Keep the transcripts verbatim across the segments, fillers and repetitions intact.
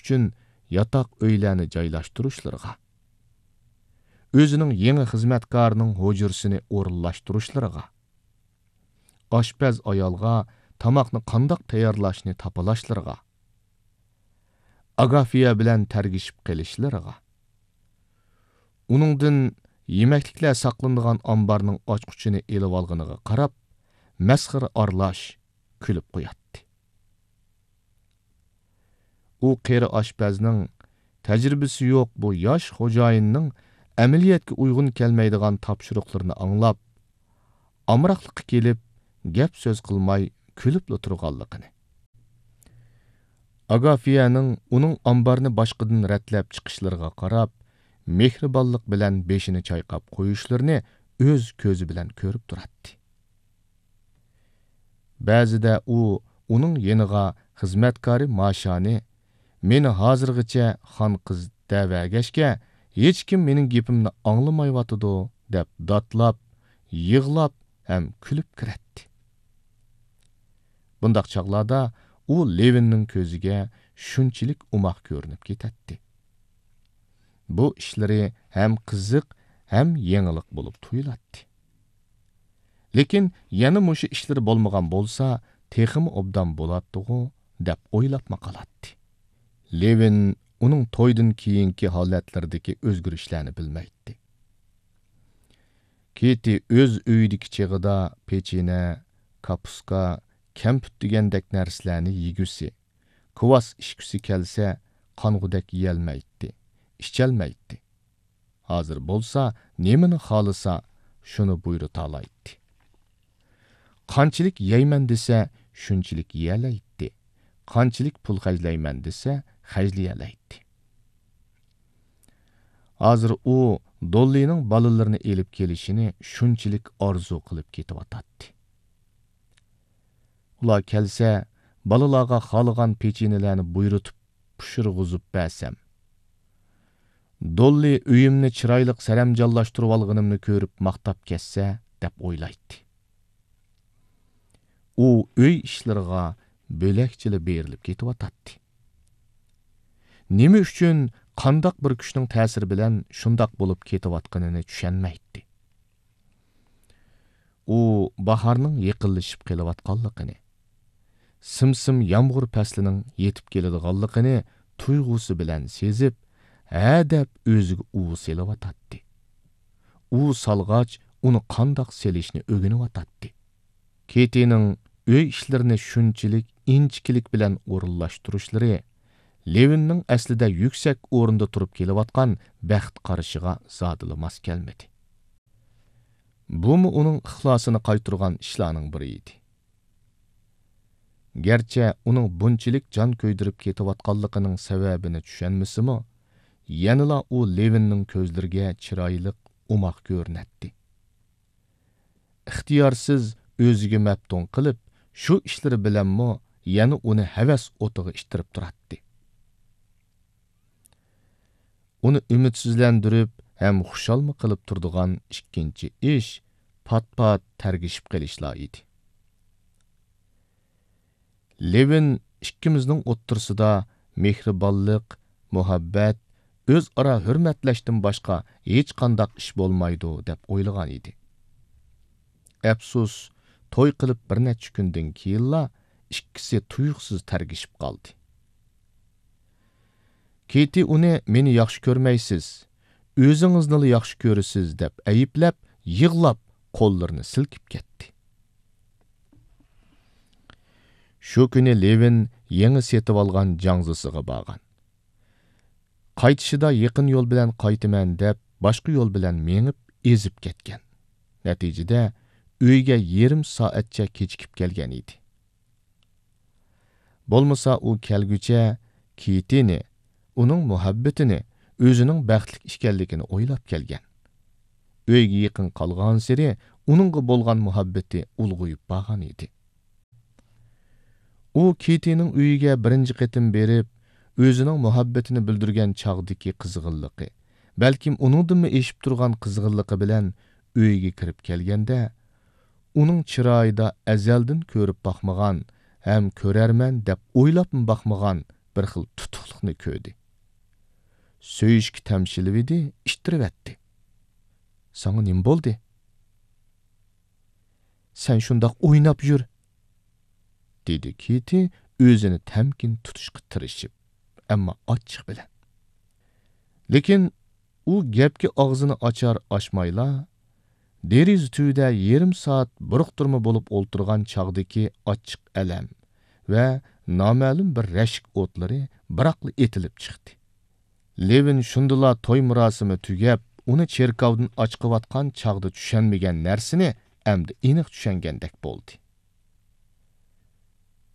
ئۈچۈن ياتاق ئۆيلەرنى جايلاشتۇرۇشلىرىغا، ئۆزىنىڭ يېڭى خىزمەتكارىنىڭ ھۇجرىسىنى ئورۇنلاشتۇرۇشلىرىغا، ئاشپەز ئايالغا تاماقنى قانداق تەييارلاشنى تاپىلاشلىرىغا، ئاگافىيە بىلەن تەرگىشىپ قېلىشلىرىغا، ئۇنىڭدىن يېمەكلىكلەر ساقلىنىدىغان ئامبارنىڭ ئاچقۇچىنى ئېلىۋالغىنىغا قاراپ، مەسخىرە ئارىلاش كۈلۈپ قوياتتى. ئۇ قېرى ئاشپەزنىڭ، تەجرىبىسى يوق بۇ ياش خوجايىننىڭ ئەمەلىيەتكە ئۇيغۇن كەلمەيدىغان تاپشۇرۇقلىرىنى ئاڭلاپ، ئامراقلىققا كېلىپ، گەپ-سۆز قىلماي كۈلۈپلا تۇرغانلىقىنى، ئاگافىيەنىڭ ئۇنىڭ ئامبارنى باشقىدىن رەتلەپ چىقىشلىرىغا قاراپ، مېھرىبانلىق بىلەن بېشىنى چايقاپ قويۇشلىرىنى ئۆز كۆزى بىلەن كۆرۈپ تۇراتتى. بەزىدە ئۇ ئۇنىڭ يېنىغا خىزمەتكارى ماشانى، «مېنى ھازىرغىچە خان قىز دەۋەرگەچكە، ھېچكىم مېنىڭ گېپىمنى ئاڭلىمايۋاتىدۇ» دەپ داتلاپ، يىغلاپ ھەم كۈلۈپ كىرەتتى. بۇنداق چاغلاردا ئۇ لېۋىننىڭ كۆزىگە شۇنچىلىك ئوماق كۆرۈنۈپ كېتەتتى. بۇ ئىشلىرى ھەم قىزىق، ھەم يېڭىلىق بولۇپ تۇيۇلاتتى. لېكىن يەنە مۇشۇ ئىشلىرى بولمىغان بولسا، تېخىمۇ ئوبدان بولاتتىغۇ، دەپ ئويلاپمۇ قالاتتى. لېۋىن ئۇنىڭ تويدىن كېيىنكى ھالەتلىرىدىكى ئۆزگىرىشلەرنى بىلمەيتتى. كېتى ئۆز ئۆيىدىكى چېغىدا پېچىنە، كاپۇسكا، كەمپۈت دېگەندەك نەرسىلەرنى يېگۈسى، كىۋاس ئىچكۈسى كەلسە، قانغۇدەك يېيەلمەيتتى، ئىچەلمەيتتى. ھازىر بولسا نېمىنى خالىسا، شۇنى بۇيرۇتالايتتى. قانچىلىك يەيمەن دېسە، شۇنچىلىك يېيەلەيتتى. قانچىلىك پۇل خەجلەيمەن دېسە، خەجلىيەلەيتتى. ھازىر ئۇ دوللىنىڭ بالىلىرىنى ئېلىپ كېلىشىنى شۇنچىلىك ئارزۇ قىلىپ كېتىۋاتاتتى. ئۇلار كەلسە، بالىلارغا خالىغان پېچىنىلەرنى بۇيرۇتۇپ پىشۇرغۇزۇپ بەرسەم، دوللى ئۆيۈمنى چىرايلىق سەرەمجانلاشتۇرۇۋالغىنىمنى كۆرۈپ ماختاپ كەتسە، دەپ ئويلايتتى. ئۇ ئۆي ئىشلىرىغا بۆلەكچىلا بېرىلىپ كېتىۋاتاتتى. نېمە ئۈچۈن، قانداق بىر كۈچنىڭ تەسىرى بىلەن شۇنداق بولۇپ كېتىۋاتقىنىنى چۈشەنمەيتتى. ئۇ باھارنىڭ يېقىنلىشىپ قېلىۋاتقانلىقىنى، سىم-سىم يامغۇر پەسلىنىڭ يېتىپ كېلىدىغانلىقىنى تۇيغۇسى بىلەن سېزىپ، ھە دەپ ئۆزىگە ئۇۋا سېلىۋاتاتتى. ئۇۋا سالغاچ، ئۇنى قانداق سېلىشنى ئۆگىنىۋاتاتتى. كېتىنىڭ ئۆي ئىشلىرىنى شۇنچىلىك ئىنچىكىلىك بىلەن ئورۇنلاشتۇرۇشلىرى لېۋىننىڭ ئەسلىدە يۈكسەك ئورۇندا تۇرۇپ كېلىۋاتقان بەخت قارىشىغا زادىلا ماس كەلمىدى. بۇمۇ ئۇنىڭ ئىخلاسىنى قايتۇرغان ئىشلارنىڭ بىرى ئىدى. گەرچە ئۇنىڭ بۇنچىلىك جان كۆيدۈرۈپ كېتىۋاتقانلىقىنىڭ سەۋەبىنى چۈشەنمىسىمۇ، يەنىلا ئۇ لېۋىننىڭ كۆزلىرىگە چىرايلىق، ئوماق كۆرۈنەتتى. ئىختىيارسىز ئۆزىگە مەپتۇن قىلىپ، شۇ ئىشلىرى بىلەنمۇ يەنە ئۇنى ھەۋەس ئوتىغا ئىتتىرىپ تۇراتتى. ئۇنى ئۈمىدسىزلەندۈرۈپ ھەم خۇشالمۇ قىلىپ تۇرىدىغان ئىككىنچى ئىش پات-پات تەرگىشىپ قېلىشلا ئىدى. لېۋىن ئىككىمىزنىڭ ئوتتۇرىسىدا مېھرىبانلىق، مۇھەببەت، ئۆزئارا ھۆرمەتلەشتىن باشقا ھېچقانداق ئىش بولمايدۇ دەپ ئويلىغان ئىدى. ئەپسۇس، توي قىلىپ بىر نەچچە كۈندىن كېيىنلا ئىككىسى تۇيۇقسىز تەرگىشىپ قالدى. كېتى ئۇنى «مېنى ياخشى كۆرمەيسىز، ئۆزىڭىزنىلا ياخشى كۆرىسىز» دەپ ئەيىبلەپ، يىغلاپ، قوللىرىنى سىلكىپ كەتتى. شۇ كۈنى لېۋىن يېڭى سېتىۋالغان جاڭزىسىغا بارغان. قايتىشىدا يېقىن يول بىلەن قايتىمەن دەپ، باشقا يول بىلەن مېڭىپ ئېزىپ كەتكەن. نەتىجىدە ئۆيگە يېرىم سائەتچە كېچىكىپ كەلگەن ئىدى. بولمىسا ئۇ كەلگۈچە كېتىنى، ئۇنىڭ مۇھەببىتىنى، ئۆزىنىڭ بەختلىك ئىكەنلىكىنى ئويلاپ كەلگەن. ئۆيگە يېقىن قالغانسېرى ئۇنىڭغا بولغان مۇھەببىتى ئۇلغىيىپ بارغان ئىدى. ئۇ كېتىنىڭ ئۆيىگە بىرىنچى قېتىم بېرىپ، ئۆزىنىڭ مۇھەببىتىنى بىلدۈرگەن چاغدىكى قىزغىنلىقى، بەلكىم ئۇنىڭدىنمۇ ئېشىپ تۇرغان قىزغىنلىقى بىلەن ئۆيىگە كىرىپ كەلگەندە، ئۇنىڭ چىرايىدا ئەزەلدىن كۆرۈپ باقمىغان ھەم كۆرەرمەن دەپ ئويلاپمۇ باقمىغان بىر خىل تۇتۇقلۇقنى كۆردى. سۆيۈشكە تەمشىلىۋىدى، ئىتتىرىۋەتتى. «ساڭا نېمە بولدى؟» «سەن شۇنداق ئويناپ يۈر»، دېدى كىتى ئۆزىنى تەمكىن تۇتۇشقا تىرىشىپ، ئەمما ئاچچىق بىلەن. لېكىن ئۇ گەپكە ئاغزىنى ئاچار ئاچمايلا، دېرىزە تۈۋىدە يېرىم سائەت بۇرۇقتۇرما بولۇپ ئولتۇرغان چاغدىكى ئاچچىق ئەلەم ۋە نامەلۇم بىر رەشك ئوتلىرى بىراقلا ئېتىلىپ چىقتى. لېۋىن شۇندىلا توي مۇراسىمى تۈگەپ، ئۇنى چېركاۋدىن ئاچىقىۋاتقان چاغدا چۈشەنمىگەن نەرسىنى ئەمدى ئېنىق چۈشەنگەندەك بولدى.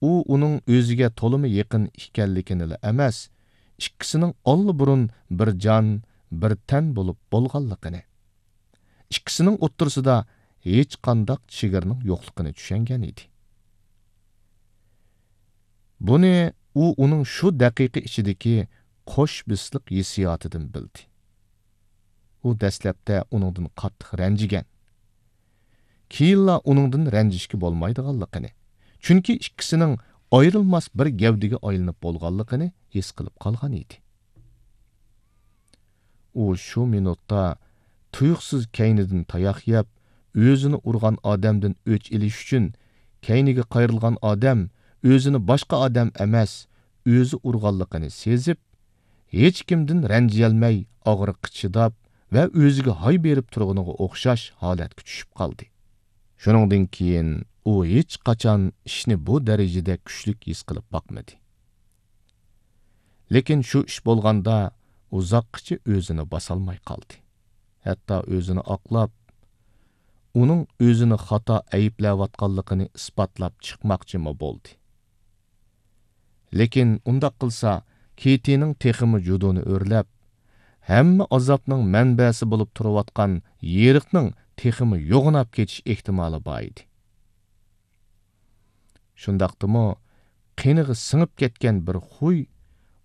ئۇ ئۇنىڭ ئۆزىگە تولىمۇ يېقىن ئىكەنلىكىنىلا ئەمەس، ئىككىسىنىڭ ئاللىبۇرۇن بىر جان، بىر تەن بولۇپ بولغانلىقىنى، ئىككىسىنىڭ ئوتتۇرىسىدا ھېچقانداق چېگرىنىڭ يوقلۇقىنى چۈشەنگەن ئىدى. بۇنى ئۇ ئۇنىڭ شۇ دەقىقە ئىچىدىكى قوش بىسلىق ھېسسىياتىدىن بىلدى. ئۇ دەسلەپتە ئۇنىڭدىن قاتتىق رەنجىگەن. كېيىنلا ئۇنىڭدىن رەنجىشكە بولمايدىغانلىقىنى، چۈنكى ئىككىسىنىڭ ئايرىلماس بىر گەۋدىگە ئايلىنىپ بولغانلىقىنى ھېس قىلىپ قالغان ئىدى. ئۇ شۇ مىنۇتتا تۇيۇقسىز كەينىدىن تاياق يەپ، ئۆزىنى ئۇرغان ئادەمدىن ئۆچ ئېلىش ئۈچۈن، كەينىگە قايرىلغان ئادەم ئۆزىنى باشقا ئادەم ئەمەس، ئۆزى ئۇرغانلىقىنى سېزىپ، ھېچكىمدىن رەنجىيەلمەي، ئاغرىققا چىداپ ۋە ئۆزىگە ھاي بېرىپ تۇرغىنىغا ئوخشاش ھالەتكە چۈشۈپ قالدى. شۇنىڭدىن كېيىن ئۇ ھېچقاچان ئىشنى بۇ دەرىجىدە كۈچلۈك ھېس قىلىپ باقمىدى. لېكىن شۇ ئىش بولغاندا ئۇزاققىچە ئۆزىنى باسالماي قالدى. ھەتتا ئۆزىنى ئاقلاپ، ئۇنىڭ ئۆزىنى خاتا ئەيىبلەۋاتقانلىقىنى ئىسپاتلاپ چىقماقچىمۇ بولدى. لېكىن ئۇنداق قىلسا، كېتىنىڭ تېخىمۇ جۇدۇنى ئۆرلەپ، ھەممە ئازابنىڭ مەنبەسى بولۇپ تۇرۇۋاتقان يېرىقنىڭ تېخىمۇ يوغىناپ كېتىش ئېھتىمالى بار ئىدى. شۇنداقتىمۇ، قېنىغا سىڭىپ كەتكەن بىر خۇي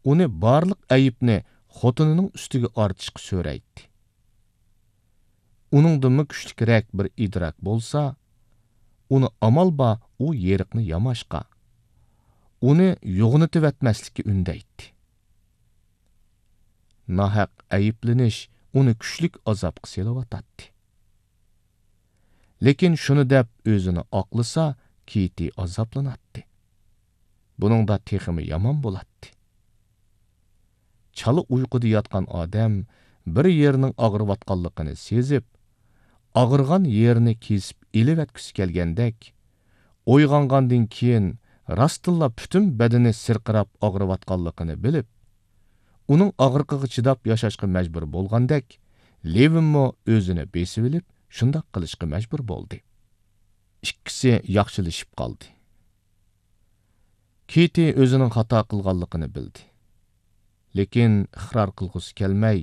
ئۇنى بارلىق ئەيىبنى خوتۇنىنىڭ ئۈستىگە ئارتىشقا سۆرەيتتى. ئۇنىڭدىنمۇ كۈچلۈكرەك بىر ئىدراك بولسا، ئۇنى ئامال بار ئۇ يېرىقنى ياماشقا، ئۇنى يوغىنىتىۋەتمەسلىككە ئۈندەيتتى. ناھەق ئەيىبلىنىش ئۇنى كۈچلۈك ئازابقا سېلىۋاتاتتى. لېكىن شۇنى دەپ ئۆزىنى ئاقلىسا، كېتى ئازابلىناتتى. بۇنىڭدا تېخىمۇ يامان بولاتتى. چالا ئۇيقۇدا ياتقان ئادەم بىر يېرىنىڭ ئاغرىۋاتقانلىقىنى سېزىپ، ئاغرىغان يېرىنى كېسىپ ئېلىۋەتكۈسى كەلگەندەك، ئويغانغاندىن كېيىن راستتىنلا پۈتۈن بەدىنى سىرقىراپ ئاغرىۋاتقانلىقىنى بىلىپ، ئۇنىڭ ئاغرىقىغا چىداپ ياشاشقا مەجبۇر بولغاندەك، لېۋىنمۇ ئۆزىنى بېسىۋېلىپ، شۇنداق قىلىشقا مەجبۇر بولدى. ئىككىسى ياخشىلىشىپ قالدى. كېتى ئۆزىنىڭ خاتا قىلغانلىقىنى بىلدى. لېكىن ئىقرار قىلغۇسى كەلمەي،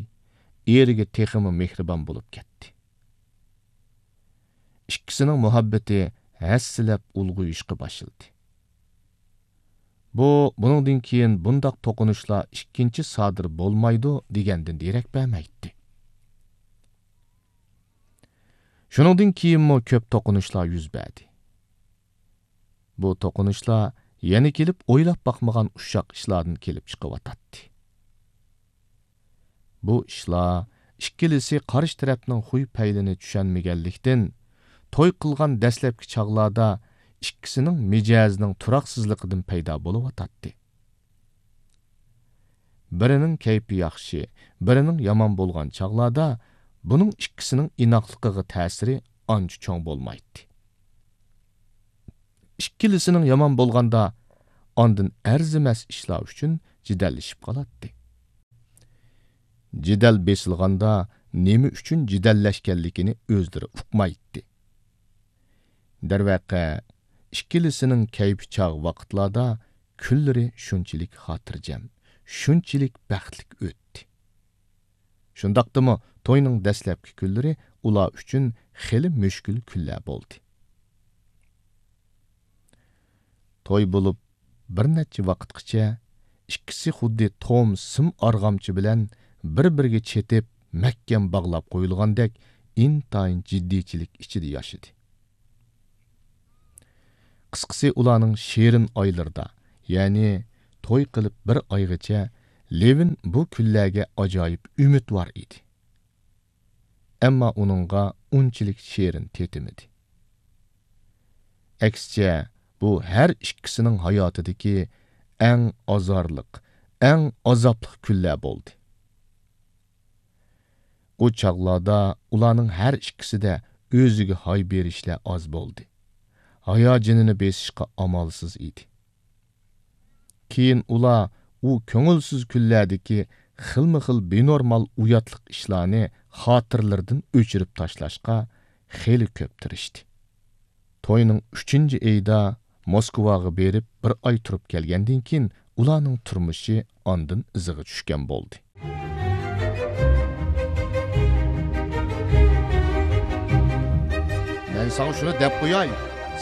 ئېرىگە تېخىمۇ مېھرىبان بولۇپ كەتتى. ئىككىسىنىڭ مۇھەببىتى ھەسسىلەپ ئۇلغىيىشقا باشلىدى. بۇ، بۇنىڭدىن كېيىن بۇنداق توقۇنۇشلار ئىككىنچى سادىر بولمايدۇ دېگەندىن دېرەك بەرمەيتتى. شۇنىڭدىن كېيىنمۇ كۆپ توقۇنۇشلار يۈز بەردى. بۇ توقۇنۇشلار يەنە كېلىپ ئويلاپ باقمىغان ئۇششاق ئىشلاردىن كېلىپ چىقىۋاتاتتى. بۇ ئىشلار ئىككىلىسى قارشى تەرەپنىڭ خۇي پەيلىنى چۈشەنمىگەنلىكتىن، توي قىلغان دەسلەپكى چاغلاردا ئىككىسىنىڭ مىجەزىنىڭ تۇراقسىزلىقىدىن پەيدا بولۇۋاتاتتى. بىرىنىڭ كەيپى ياخشى، بىرىنىڭ يامان بولغان چاغلاردا بۇنىڭ ئىككىسىنىڭ ئىناقلىقىغا تەسىرى ئانچە چوڭ بولمايتتى. ئىككىلىسىنىڭ يامان بولغاندا ئاندىن ئەرزىمەس ئىشلار ئۈچۈن جېدەللىشىپ قالاتتى. جېدەل بېسىلغاندا نېمە ئۈچۈن جېدەللەشكەنلىكىنى ئۆزلىرى ئۇقمايتتى. دەرۋەقە، ئىككىلىسىنىڭ كەيپى چاغ ۋاقىتلاردا كۈنلىرى شۇنچىلىك خاتىرجەم، شۇنچىلىك بەختلىك ئۆتتى. شۇنداقتىمۇ توينىڭ دەسلەپكى كۈنلىرى ئۇلار ئۈچۈن خېلى مۈشكۈل كۈنلەر بولدى. توي بولۇپ بىر نەچچە ۋاقىتقىچە ئىككىسى خۇددى توم سىم ئارغامچا بىلەن بىر-بىرىگە چېتىپ، مەھكەم باغلاپ قويۇلغاندەك ئىنتايىن جىددىيچىلىك ئىچىدە ياشىدى. قىسقىسى، ئۇلارنىڭ شېرىن ئايلىرىدا، يەنى توي قىلىپ بىر ئايغىچە لېۋىن بۇ كۈنلەرگە ئاجايىپ ئۈمىدۋار ئىدى. ئەمما ئۇنىڭغا ئۇنچىلىك شېرىن تېتىمىدى. ئەكسىچە، بۇ ھەر ئىككىسىنىڭ ھاياتىدىكى ئەڭ ئازارلىق، ئەڭ ئازابلىق كۈنلەر بولدى. ئۇ چاغلاردا ئۇلارنىڭ ھەر ئىككىسىدە ئۆزىگە ھاي بېرىشلەر ئاز بولدى. ھاياجىنىنى بېسىشقا ئامالسىز ئىدى. كېيىن ئۇلار ئۇ كۆڭۈلسىز كۈنلەردىكى خىلمۇ خىل بىنورمال ئۇياتلىق ئىشلارنى خاتىرىلىرىدىن ئۆچۈرۈپ تاشلاشقا خېلى كۆپ تىرىشتى. توينىڭ ئۈچىنچى ئېيىدا موسكۋاغا بېرىپ بىر ئاي تۇرۇپ كەلگەندىن كېيىن، ئۇلارنىڭ تۇرمۇشى ئاندىن ئىزىغا چۈشكەن بولدى. مەن ساڭا شۇنى دەپ قوياي،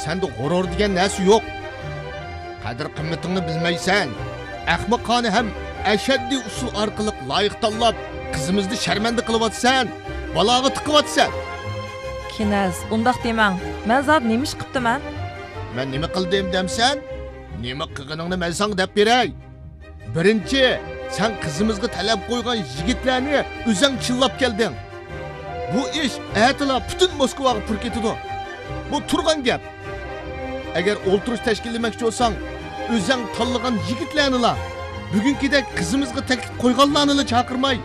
سەندە غۇرۇر دېگەن نەرسە يوق. قەدىر-قىممىتىڭنى بىلمەيسەن. ئەخمىقانە ھەم ئەشەددىي ئۇسۇل ئارقىلىق لايىق تاللاپ، قىزىمىزنى شەرمەندە قىلىۋاتىسەن، بالاغا تىقىۋاتىسەن. كىنەز، ئۇنداق دېمەڭ. مەن زادى نېمە ئىش قىپتىمەن؟ مەن نېمە قىلدىم دەمسەن؟ نېمە قىلغىنىڭنى مەن ساڭا دەپ بېرەي. بىرىنچى، سەن قىزىمىزغا تەلەپ قويغان يىگىتلەرنى ئۆزەڭ چىللاپ كەلدىڭ. بۇ ئىش ئەتىلا پۈتۈن موسكۋاغا پۇر كېتىدۇ. بۇ تۇرغان گەپ. ئەگەر ئولتۇرۇش تەشكىللىمەكچى بولساڭ، ئۆزەڭ تاللىغان يىگىتلەرنىلا، بۈگۈنكىدەك قىزىمىزغا تەكلىپ قويغانلارنىلا چاقىرماي،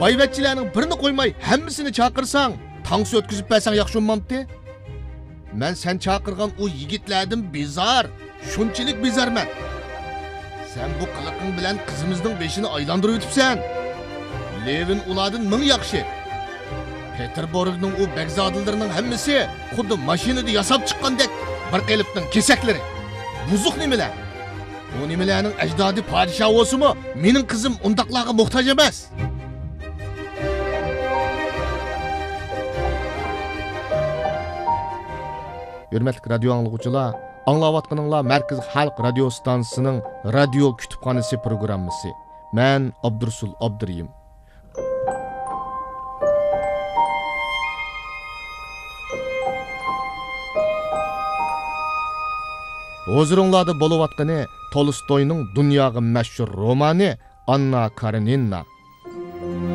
بايۋەچچىلەرنىڭ بىرىنى قويماي ھەممىسىنى چاقىرساڭ، تانسا ئۆتكۈزۈپ بەرسەڭ ياخشى بولمامتى؟ مەن سەن چاقىرغان ئۇ يىگىتلەردىن بىزار، شۇنچىلىك بىزارمەن. سەن بۇ قىلىقىڭ بىلەن قىزىمىزنىڭ بېشىنى ئايلاندۇرۇۋېتىپسەن. لېۋىن ئۇلاردىن مىڭ ياخشى. پېتېربۇرگنىڭ ئۇ بەگزادىلىرىنىڭ ھەممىسى خۇددى ماشىنىدا ياساپ چىققاندەك بىر قېلىپنىڭ كېسەكلىرى. بۇزۇق نېمىلەر. بۇ نېمىلەرنىڭ ئەجدادى پادىشاھ بولسىمۇ، مېنىڭ قىزىم ئۇنداقلارغا موھتاج ئەمەس. ھۆرمەتلىك رادىيو ئاڭلىغۇچىلار، ئاڭلاۋاتقىنىڭلار مەركىزىي خەلق رادىيو ستانسىسىنىڭ رادىيو كۇتۇپخانىسى پروگراممىسى. مەن ئابدۇرۇسۇل ئابدۇرېھىم. ھۇزۇرۇڭلاردا بولۇۋاتقىنى تولستوينىڭ دۇنياغا مەشھۇر رومانى ئاننا كارېنىنا.